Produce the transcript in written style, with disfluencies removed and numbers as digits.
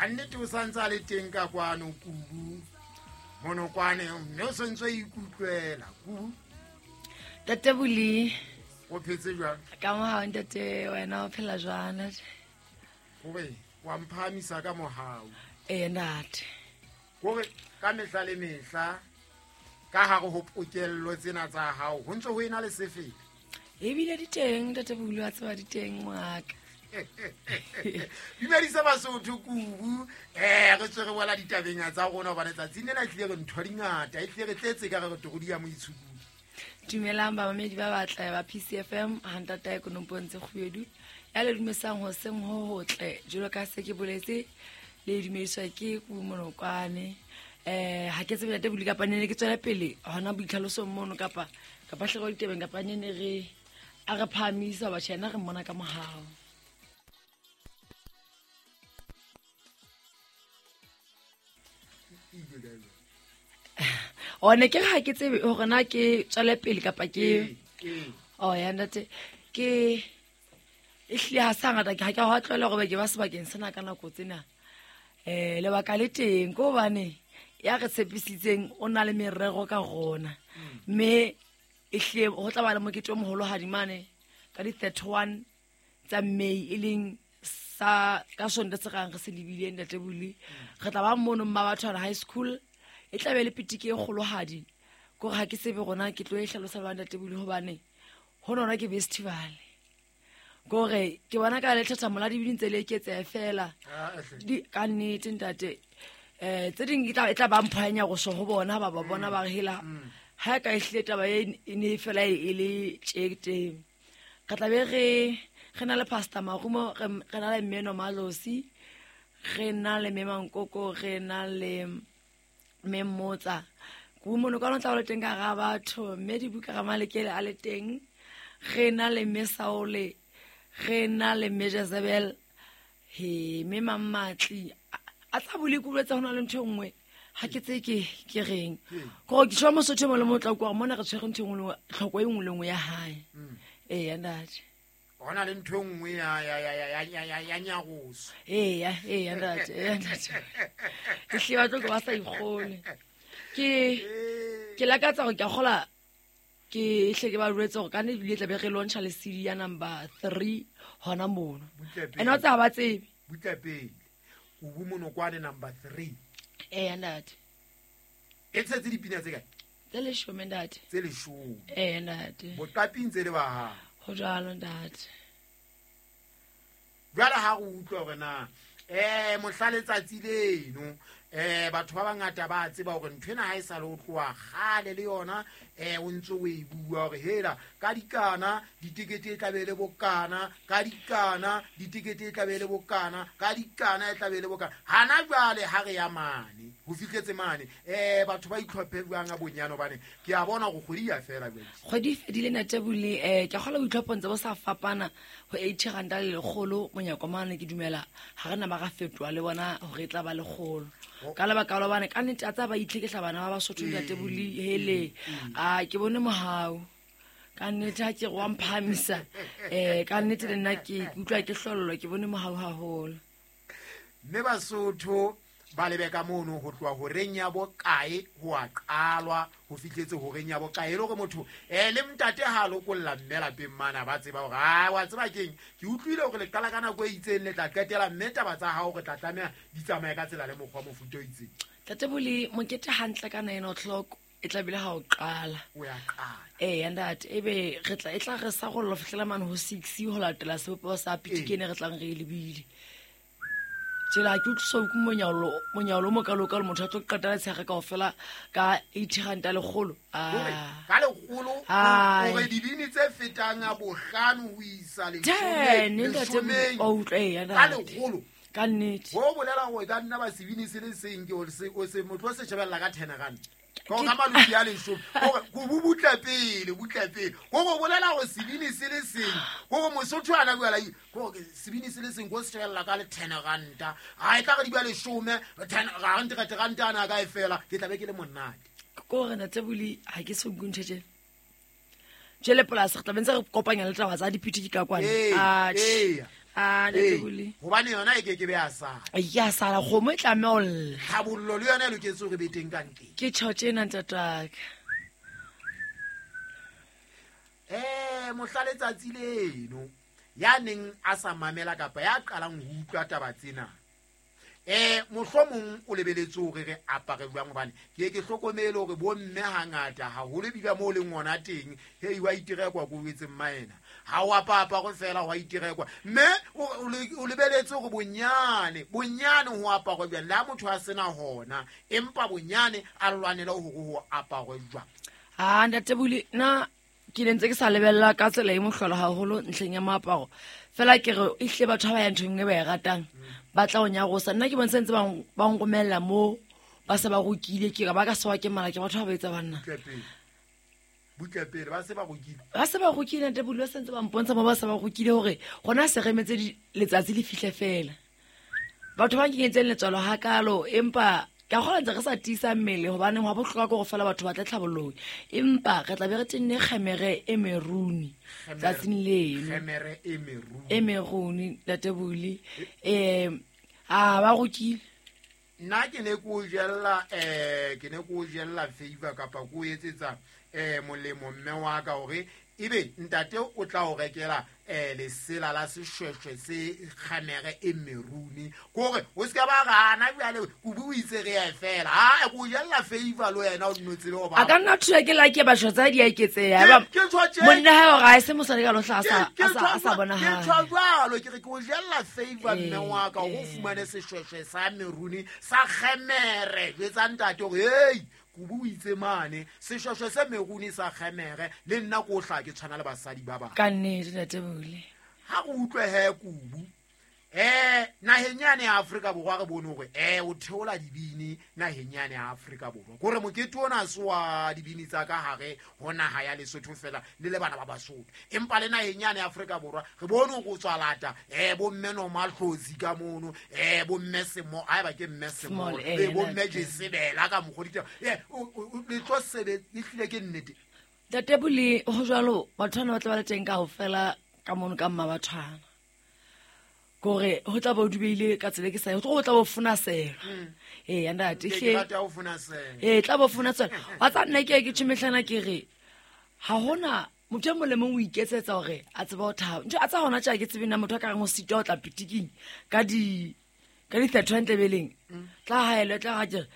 Ka nnete o santse a le teng ka kwano Kubu Monokwane, mme o santse o ikutlwela Kubu. Ntate Boli. O phetse jwang? Ka mohau ntate, wena o phela jwang? Gore wa mphahamisa ka mohau. Ee ntate. Kore ka mehla le mehla ka hare ho pokello tsena tsa hao ho ntse ho ena le sefele. Ebile di teng ntate Boli, wa tseba di teng ngwaka. Dumedisa Basotho Kubu, re tswe re bola ditabeng tsa rona hobane tsatsing lena e tlile re ntho dingata, e tlile re tletse ka re re torodi ya moitshukudi. Dumelang bamamedi ba batle ba PCFM, ha ntatae Konopontse Kgubedu ya le dumesang hoseng ho hotle jwalo ka se ke boletse le dumediswa ke Kubu Monokwane. Ha ke tsebe ntate Boli kapa nene ke tswela pele hona boitlhalosong mono kapa kapa hlero ditabeng kapa nene re a re phahamisa batjha yena re mmona ka mohau. One ke ha ke tsebe hore na ke tswele pele kapa ke oh ya ntate ke e hlile ha sa ngata ke ha ke ha tlwaela hore ke ba sebakeng sena ka nako tsena. Lebaka le teng ke hobane ya re tshepisitseng o na le merero ka rona, mme e hlile ho tla ba le mokete o moholohadi mane ka di 31 tsa May, e leng sa ka Sonto se kang re se lebile ntate Boli. Re tla ba mono Mmabathwana High School, e tla be le pitiki e kgolohadi. Kore ha ke tsebe rona ke tlo e hlalosa ba ntate Boli hobane ho nona ke festival. Kore ke bona ka le thatha mola dibini tse le eketseha fela. Di ka nnete ntate. Tse ding e tla ba mpho ya nyaroso ho bona, ba ba bona ba re hela. Ha e ka e hlile taba e ne fela e le tje teng. Re tla be re na le Pastor Marumo, re na le Mmeno Malosi, re na le Mme Mankoko, re na le Mme Mmotsa. Kubu Monokwane o tla ba le teng ka hara batho, mme dibuka ga Malekele a le teng. Re na le Mme Saole, re na le Mme Jezebel, he mme Mammatli. A tla bole kubu tsa ho na le ntho e nngwe. Ha ke tse ke reng. Kore ke tjho Mosotho mo le motla kwa mona re tshwere ntho e nngwe le nngwe, tlhoko e nngwe le nngwe ya hae. Ee, ntate. Ho na le ntho e nngwe ya nyaroso. Eya, eya, ntate, eya, ntate. Ke hlile ba tlo ke ba sa ikgone. Ke lakatsa hore ke a kgola ke hle ke ba jwetse hore ka nnete ebile tla be re launcha le CD ya number 3 hona mono. Butle pele. Ene o tsa ba tsebe. Butle pele. Kubu Monokwane number 3. Eya, ntate. E tshetse dipina tse kae? Tse leshome, ntate. Tse leshome. Eya, ntate. Boqaping tse le ba hao. Ho jwalo, ntate. Jwale ha re utlwa hore na, mohla letsatsi leno, batho ba bangata ba tseba hore ntho ena ha e sa le ho tloha kgale le yona, o ntse o e bua hore hela, ka dikana, ditekete e tla be le bokana, ka dikana, ditekete e tla be le bokana, ka dikana e tla be le bokana. Hana jwale ha re ya mane, ho fihletse mane, batho ba itlhophe jwang a bonyane hobane ke a bona hore kgwedi ya fela jwale. Kgwedi e fedile ntate Boli, ke a kgolwa boitlhophong tse bo sa fapana ho 80 ranta le lekgolo monyako mane, ke dumela ha re na ba ra fetoha le bona hore e tla ba lekgolo. Ka lebaka la hobane ka nnete a tsa ba itlhekehla bana ba Basotho ntate Boli, hele. A ke bone mohau. Ka nnete ha ke re wa mphahamisa, ka nnete le nna ke utlwa ke hlollwa, ke bone mohau haholo. Mme Basotho ba lebe ka mono ho tloha horeng ya bokae ho a qalwa ho fihletse horeng ya bokae, e le hore motho, le ntate ha a lokolla mme lapeng mana ba tseba hore, a, wa tseba keng, ke utlwile hore le qala ka nako e itseng le tla qetela, mme taba tsa hao re tla tlameha di tsamaye ka tsela le mokgwa mofuta o itseng. Ntate Boli, mokete hantle ka 9 o'clock e tla bile ha o qala. O ya qala. Ee, ntate, ebe re tla, e tla re sa go fihlela mane ho 6 ho latela sebopeho sa pitikene re tlang re e lebile. Tsela ke utlwiswa ke monyaolo o mokalokalo, motho a tlo qetela tsheare kaofela ka 80 ranta lekgolo. Hore, ka lekgolo, hore dibini tse fetang a bohlano ho isa leshome, Ten, ntate, leshomeng. o utlwa, eya, Ka ntate. lekgolo. Ka nnete. Ho bolela hore ka nna ba sebini se le seng, ke o se, o se, motho o se shebella ka 10 ranta. Ka hore ka maluti a leshome. Hore, ko bo butle pele, butle pele. Ho go bolela hore sebini se le seng, hore Mosotho ana bua la eng, hore sebini se le seng, ko se shebella ka le 10 ranta. Ha e tla re di ba leshome, 10 ranta, ranta, ranta ana ka e fela, ke tla be ke le monate. Ko re ntate Boli, ha ke so utlwe ntho tjena. Jwale polasi re tla be ntse re kopanya le taba tsa dipitiki ka kwana. Atjhe. A Ee, ntate gobane yona e keke be ya sala. Ya sala kgomo e tlameha ho lla. Tlhabollo le yona e loketse hore be teng ka ntleng. Ke tjho tjena ntataka. Mohla letsatsi leno ya neng a sa mamela kapa ya qalang ho utlwa taba tsena, mohlomong o lebeletse hore re apare jwang, hobane ke ye ke hlokomele hore bomme hangata haholo ebile moo leng hona teng, hei wa iterekwa ko o etseng maena, ha o apa-aparo fela wa iterekwa, mme o lebeletse hore bonyane bonyane ho aparwe jwang, le ha motho a sena hona, empa bonyane a lwanele hore ho aparwe jwang. A ntate Buli, nna ke ne ntse ke sa lebella ka tsela e mohlolo haholo ntlheng ya moaparo. Fela ke re ehlile batho ha ba ya nthong e ba e ratang, ba tla o nyarosa. Nna ke bone se ntse ba nromella moo ba se ba rokile, ke re ba ka sewa ke mala ke batho ba ba etsa banna. Butle pele. Butle pele, ba se ba rokile. Ba se ba rokile ntate Buli, ba se ntse ba mpontsha moo ba se ba rokile hore gona se re emetse letsatsi le fihle fela. Batho ba nkenyetseng letswalo hakalo, empa ka kgona ntse re sa tiisa mmele hobane hwa bohlokwa ke hore fela batho ba tle tlhabollong, empa re tla be re tenne kgemere e meruni tsatsing leno. Kgemere e meruni. E meruni, ntate Buli. A ba rokile. Nna ke ne ke o jella, ke ne ke o jella favor kapa ke o etsetsa, molemo mme wa ka hore ebe ntate o tla o rekela, lesela la seshweshwe se kgemere e meruni, kore o se ka ba gana bjale kubu o itse re ye fela. Ha, ke o jella favor le wena o nno tsebe ho ba. A ka nna thuya ke la ke ba shotsa di a eketseha. Ke ntho tje- Monna hae hore ha e se mosadi ka lohla a Ke a sa bonahale. ke ntho jwalo, ke re ke o jella favor mme wa ka hore o fumane seshweshwe sa meruni sa kgemere. Jwetsa ntate hore, hei, kubu o itse mane, seshweshwe se meruni sa kgemere, le nna ke o hlaha ke tshwana le basadi ba bang. Ka nnete, ntate Buli. Ha re utlwe he kubu. Naheng yane ya Afrika Borwa re bone hore, o theola dibini naheng yane ya Afrika Borwa. Kore mokete ona ha se wa dibini tsa ka hare ho naha ya Lesotho fela le le bana ba Basotho, empa le naheng yane ya Afrika Borwa re bone hore o tswa lata, bo mme Nomahlotsi ka mono, bo mme Semo, haeba ke mme Semo, Small, bo mme ntate. Jesebela ka mokgwa ditaba. O, le tlo sebetsa, ehlile ke nnete. Ntate Buli, ho jwalo, batho bana ba tla ba le teng kaofela ka mono ka mmabathwana. Kore ho tla ba o dubeile ka tsela e ke sa, ho tla bo funa sela. Ee, ntate, Ke hle. rata ho funa sela. Ee, tla bo funa sela. Wa tsa nna ke ye ke tjho mehlana ke re, ha hona motho e mong le mong o iketsetsa hore a tsebe ho thaba. Ntho a tsa hona tje ha ke tsebe na motho a ka reng o sitwa ho tla pitiking ka di 31 tlebeleng. Tla haelwa, tla ha ke re,